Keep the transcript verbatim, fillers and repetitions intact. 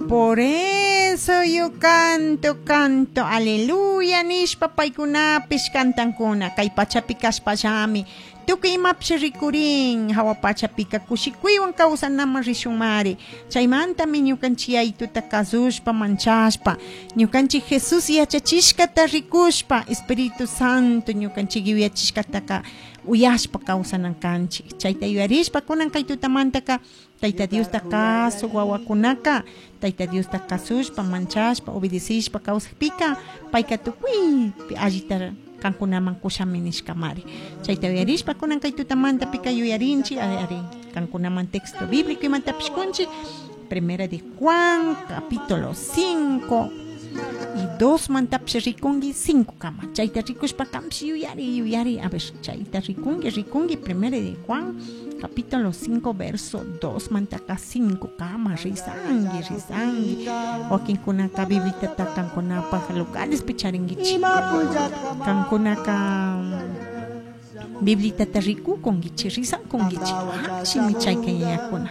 Por eso yo canto, canto, aleluya nishpa paykunapish cantankuna kay pachapi kashpallami tukuy imapish rikurin hawa pachapika kushikuywan kawsanaman rishunmari. Chaymantami ñukanchik yaytuta kasushpa, manchashpa, ñukanchik Jesús yachachishkata rikushpa, Espíritu Santo ñukanchik yuyachishkataka uyashpa kawsanan kanchik. Chayta yuyarishpa kunan kay tutamantaka Tayta Diosta kasuk wawakunaka, Tayta Diosta kasushpa, manchashpa, obedecishpa kawsakpika payka tukuypi allita kankunaman kushami nishkamari. Chayta yuyarishpa kunan kay tutamantapika yuyarinchik, ari kankunaman texto bíblico imatapish kunchik. Primera de Juan, capítulo cinco y dos mantapish rikunki cinco kama. Chayta rikushpa kampish yuyari, yuyari, a ver, chayta rikunki, rikunki, Primera de Juan, capítulo cinco, verso dos mantaka cinco kama, risangi, risangi. Wakinkunaka Bibliata kankunapaj lugarespi charinkichik. Kankunaka Bibliata rikukunkichik, risankunkichik. Shimi chayka yayakuna.